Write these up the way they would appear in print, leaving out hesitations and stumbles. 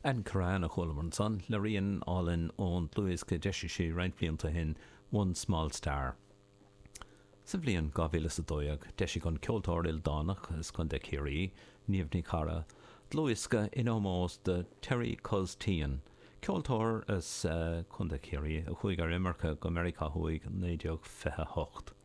Ann Curran a chualamar ansan le rian álainn ón dlúthdhiosca a d'eisigh sí roinnt blianta ó shin, One Small Star. Sa bhliain 2012, d'eisigh an ceoltóir ildánach as Contae Chiarraí, Niamh Ní Charra, dlúthdhiosca in ómós do Terry Cuz Teehan, ceoltóir as Contae Chiarraí a chuaigh ar imirce go Meiriceá Thuaidh in 1928.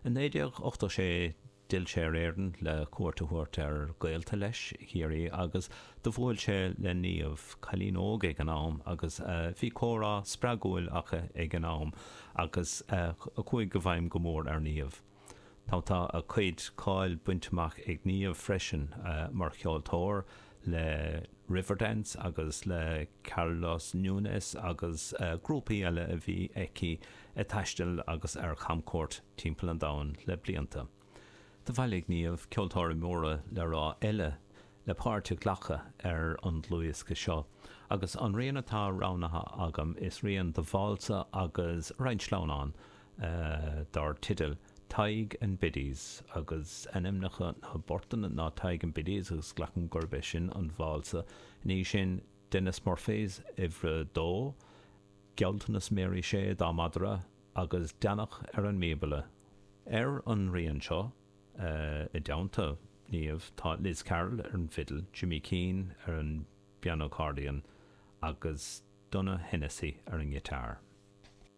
In 1986, D'fhill sé ar Éirinn le cuairt a thabhairt ar ghaolta leis i gCiarraí agus do bhuail sé le Niamh, cailín óg ag an am, agus bhí comhrá spreagúil acu ag an am agus a chuaigh i bhfeidhm go mór ar Niamh. Tá tá a cuid cáil bainte amach ag Niamh freisin mar cheoltóir le Riverdance agus le Carlos Nunes agus grúpaí eile a bhí aici ag taisteal agus ar chamcuairt timpeall an domhain le blianta. Do bhailigh Niamh ceoltóirí móra le rá eile le páirt a ghlacadh ar an dlúthdhiosca seo agus an rian atá roghnaithe agam is rian de válsa agus roinnt sleamhnán dar teideal Tadhg and Biddies agus ainmneacha na bportanna ná Tadhg and Biddies agus glacaim gurb é sin an válsa. Ina dhiaidh sin Denis Murphy's Uimhir a Dó, Gealltanas Mary Shea dá Madra agus Deannach ar an mBíobla. Ar an rian seo, i dteannta Niamh, tá Liz Carroll ar an bhfidil, Jimmy Keane ar an bpiano accordion agus Donogh Hennessy ar an ngiotár.